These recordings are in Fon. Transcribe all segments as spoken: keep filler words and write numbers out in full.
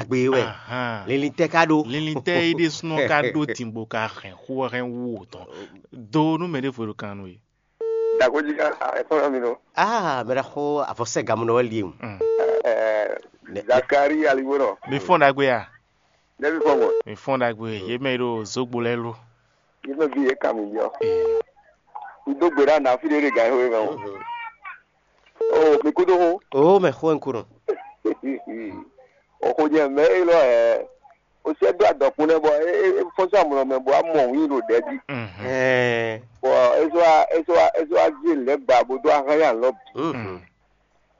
gbe wɛ. Ahan. Linlin tɛ ka ɖó. Linlin tɛ yi ɖe sunɔ ka ɖó timbo ka hɛn xó hɛn wú o tɔn. Do nú mɛ ɖěvo ɖo kan nú we. Dagoji ka, ah, ẹ tɔn mi nɔ. Ah, mɛ ɖaxó avɔsɛ gamunɔ wɛ li. Mm. Eh, Zakari Aliwonɔ. Mi fɔn ɖagbe ya. Nɛbi fɔn mɔ. Mi fɔn ɖagbe ye mɛ ɖo zogbo lɛ lo. Yi mɛ bi ye kan mi yɔ. Eh. N dó gbe ɖa na fi ɖe ɖe gan xo mɛ o. Mhm. O mi kúdó xó. O mɛ xó n kúrò. O xó nyɛ mɛ e lɔ ɛ. O sɛ dó adɔkun nɛ bɔ e e e fɔsɔ amlɔ mɛ bɔ amɔ wí ɖo ɖɛ jí. Mhm. Ɛɛ. Bɔ e sɔ wa e sɔ wa e sɔ wa jí lɛ gba bo dó ahán ya lɔ bi. Mhm.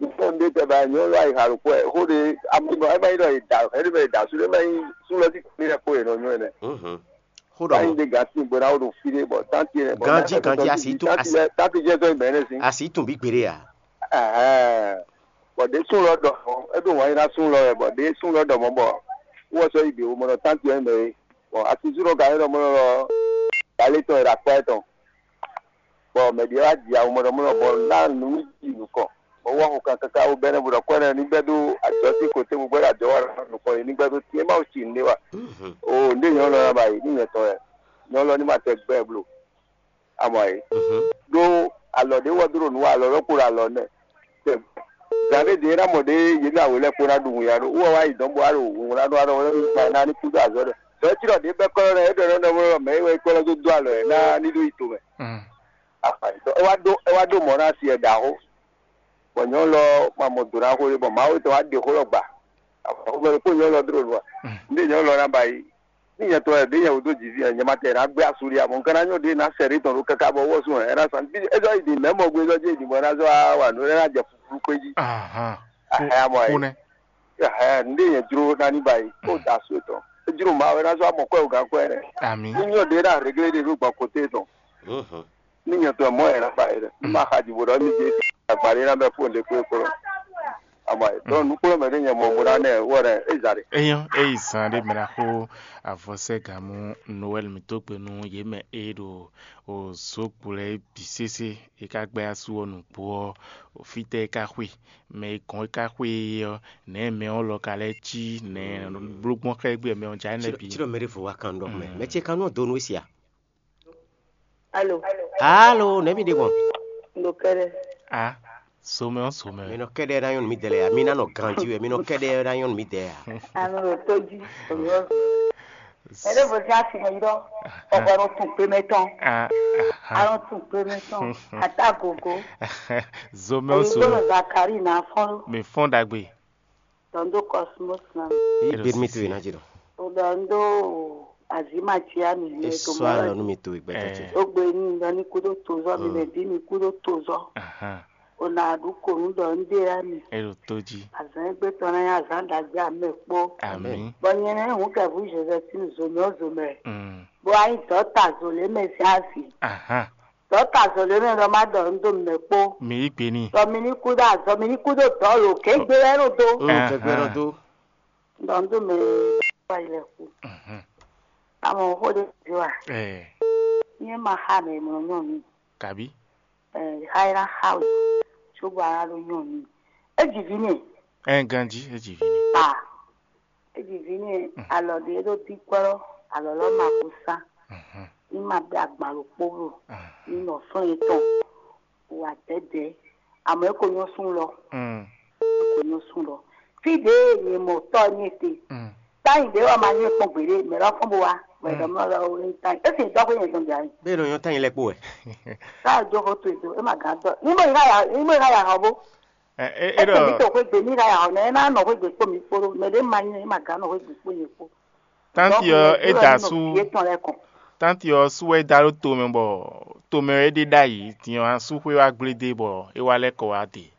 Nítorí ɖé tɛ ba nyɔnu lɔ ayixa ɖokpó ɛ xó ɖé amúnɔ ɛ má nyí ɖɔ è da ɛ ɖé bɛ è da sú ɖé má nyí súnlɔ tí kò ní ɛ kó è nɔ nyɔ ɛ nɛ. Mhm. Xó ɖɔ Báyìí mɔ. Ɖé gǎn sí bó ná wó ɖo fí ɖé bɔ tánti ɛ bɔ Ganji, ganji, asi tún, asi, tánti jẹ́ sɔ ìbẹ̀rẹ̀ sí. Asi tún bí gbére à. Ɛhɛn. Bɔ ɖé sún lɔ ɖɔ é ɖo wǎn yíra sún lɔ ɛ bɔ ɖé sún lɔ ɖɔ mɔ bɔ wɔ sɔ yi ɖe wo mɔ ɖɔ tánti ɛ mɛ é. Bɔ asi sún lɔ gǎn é ɖɔ mɔ lɔ galé tɔn è ɖo akpá ɛ tɔn. Bɔ mɛ ɖě wá ji awu mɔɖɔmɔɖɔ bɔ ná nǔ ji nukɔn, bɔ wá xo kan káká wú bɛ́nɛ́ bó ɖɔ kwɛ́nɛ́ ní gbɛ́ dó ajɔ̌ sín kotɛ́ bó gbɛ́ ɖo ajɔ̌ wa nukɔn yě ní gbɛ́ dó tín é má wú ci nǔɖé wa. O ndé nyɔ̌nu lɔ ná ba yi ní nyɛ tɔn wɛ. Nyɔ̌nu lɔ ní ma tɛ gbɛ́ blo. Amɔ yi. Ɖó alɔ ɖé wɔ dó ɖo nǔ wa alɔ lɔ kpo ɖo alɔ nɛ. Zǎn ɖé ɖě ná mɔ ɖé yě ɖo awe lɛ́ɛ kpo ná ɖu wǐnnya ɖó wú wɛ wá yi dɔ̌n bó wá ɖo wǔnwlá ɖó wá ɖɔ wɛ ná ní kúdó azɔ̌ ɖɔ. Dɔ̌ cí ɖɔ ɖě bɛ́ kɔ́ lɔ ná é ɖɔ nɔ ɖɔ mɔ mɛ é wɛ é kɔ́ lɔ dó dó alɔ ɛ ná ní ɖó yi tomɛ. Afanyitɔ é wá ɖó é wá ɖó mɔ̌ ná asi ɛ ɖaxó, bɔ nyɔ̌nu lɔ ma mɔ do ná xó ɖé bɔ Mawu tɔn wá ɖe xó lɔ gba. Xomɛ ɖokpó nyɔ̌nu lɔ dó ɖo nua. Ndé nyɔ̌nu lɔ ná ba yi. Ní nyɛ tɔn wɛ ɖé nyɛ wúdo jǐví ɛ nyɛ ma tɛ ná gbé asú ɖi amɔ un ka ná nyɔ ɖé ná sɛ ɖé tɔn ɖó káká bɔ wɔ sún ɛ ná san bí é zɔ yi ɖi mɛ mɔ gbé zɔ jɛ ɖi bɔ é ná zɔ wa nǔ é ná jɛ fuflu kpé jí. Ahán. Ahán mɔ ɛ. Kúnɛ. Ahán ndé nyɛ jló ná ní ba yi kó da asú tɔn. É jló ma wɛ ná zɔ amɔ kɔ ɛ o gán kɔ ɛ rɛ. Àmì. Ní nyɔ ɖé ná réglé ɖé ɖó gbɔn kóté tɔn. Ní nyɛ tɔn mɔ yɛrɛ fa yɛrɛ ní ma xa jǐ bó ɖɔ ní jɛ agbaɖé ná bɛ fóun ɖé kpé kplɔ́. Ama yɛ tɔn nukplɔ́ mɛ ɖé nyɛ mɔ bó ná nɛ wɔ ɖɛ é za ɖe. Eyɔn eyi zan ɖé mɛ ná xó avɔsɛ́ gǎn mú Noɛl mǐtɔn gbe nú yě mɛ e ɖo o zǒgbo lɛ́ɛ bǐ sésé. E ka gbɛ́ asú ɔ́ nǔgbó ɔ́, fítɛ́ e ka xwe, mɛ e gɔ́n e ka xwe é ɔ́, nɛ̌ mɛ ɔ́ lɔ ka lɛ́ cí nɛ̌ bló gbɔn xá e gbé mɛ ɔ́ já nɛ́ bǐ. Tí ɖɔ mɛ ɖé vo wá kan ɖɔ mɛ mɛ ce kan nɔ do nú e sia. Alo. Alo, nɛ̌ mi ɖe gbɔn? Ndo kɛɖɛ. A, zomɛ ɔ́ zomɛ. Mi nɔ kɛɖɛ ná nyɔnu mi dɛ lɛ ya. Mi ná nɔ ganji wɛ. Mi nɔ kɛɖɛ ná nyɔnu mi dɛ ya. Ame ɖo tó jí. Ɛɖé vo zé asi mɛ yidɔ. Ɔgbɔ ɖo tun kpe mɛ tɔn. A, Alɔ tun kpe mɛ tɔn. Ata gogo. Zomɛ ɔ́ Eyi zomɛ. Gbɔdɔ Zakari na fɔn. Mi fɔn ɖagbe. Dɔn do Cosmos na. Eyi gbe mi to yi na ji dɔn. O dɔn do azima tia mi. E sɔ alɔ nu mi to yi gbɛtɔ ce. O gbe ni dɔn ni kudo tozɔ mi mɛ bi mi kudo tozɔ. O na ɖu konu ɖɔ un ɖe ya mi. E ɖo to jí. Azan egbe tɔn na ya azan ɖagbe amɛ kpó. Amin. Bɔ nyɛ nɛ hun kɛ vu Josephine zomɛ o zomɛ. Bo ayi dɔta zole mɛ si asi. Ahan. Dɔta zole mɛ ɖɔ ma ɖɔ un do mɛ kpó. Mi yi gbe ni. Dɔ mi ni kudo azɔ mi ni kudo dɔ lo ke gbe wɛ ɖo do. O ke gbe ɖo do. Dɔ un do mɛ kpó ayi lɛ ku. Mhm. Amɔ xo ɖe zi wa. Ɛɛ. Nye ma xa mɛ mɔ nyɔ mi. Kabi. Ɛɛ, xa yi na xa we. Tso bɔ a ɖo nyɔ mi. E ji vi nɛ. Ɛɛ, ganji, e ji vi nɛ. A. E ji vi nɛ alɔ ɖe ɖo ti kpɔ́ alɔ lɔ ma ko sa. Mhm. Ní ma bɛ agban ɖokpó lo. Mhm. Ní nɔ flɔ́n yětɔn wa dɛ̌dɛ̌. Amɔ é ko nyɔ́ sún lɔ. Mm. É ko nyɔ́ sún lɔ. Fí ɖě nyɛ mɔ tɔ́ nyɛ te. Mm. Táyì ɖě wà máa nyɛ kpɔ́n gběɖé, mɛ lɔ fɔ́n bó wá. Wɛ dɔ mɔ lɔ wɛ ní táyì. É sì dɔ́ xwé nyɛ dɔn jà yìí. Bẹ́ẹ̀ ló yan táyì lẹ́pọ̀ wẹ̀. Táyì jó kó tó ètò, é mà gán dɔ́. Ní bó yìí ká yà, ní bó yìí ká yà hàn bó. Ɛ, ɛ, é Eke ɖɔ mi to xwé gbe mi ka ya ɔ nɛ ena nɔ xwé gbe kpó mi kpó ɖó mɛ ɖé ma nyɛ ma gán nɔ xwé gbe kpó nyɛ kpó. Tanti ɔ é da sú. Yé tɔn lɛ kɔn. Tanti ɔ sú wɛ é da ɖó tomɛ bɔ tomɛ ɔ é ɖe ɖ'ayǐ din ɔ asú xwé wá gblé dé bɔ é wá lɛ́ kɔ wá de.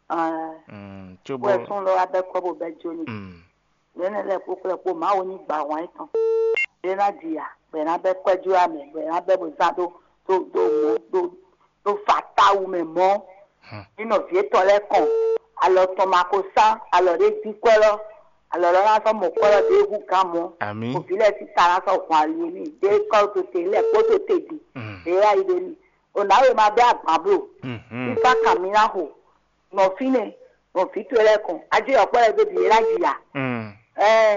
Ɛɛ, Mm, cóbɔ wɛ sún lɔ abɛ kɔ bo bɛ jó ni. Mm, Nɛnɛ lɛ kpó kplɛ kpó Mawu ní gba hwan yětɔn. Bɛ ná ji ya, bɛ ná bɛ kwɛ́jú amɛ, bɛ ná bɛ bo zán ɖó ɖó ɖó mɔ ɖó ɖó fa táwu mɛ mɔ. Ní nɔví yětɔn lɛ́ɛ kɔn alɔ tɔn ma ko sán alɔ ɖé jí kwɛ́ lɔ, alɔ lɔ ná sɔ́ mɔ kwɛ́ lɔ ɖěbǔ gán mɔ. Amǐ. Òbí lɛ́ɛ sí ta ná sɔ́ hwan ali n'i ɖé kɔ́ to te lɛ́ɛ kpó to te bǐ. Mm. Ɖě wá yi ɖe n'i. O nǎwe ma bɛ́ agban bló. Mhm. Fífá kan mi ná xo. Nɔ fínɛ́, nɔ vǐ towe lɛ́ɛ kɔn. Ajé yɔ̌kpɔ́ lɛ́ɛ dó bǐ é ná ji ya. Mm. Ɛɛ.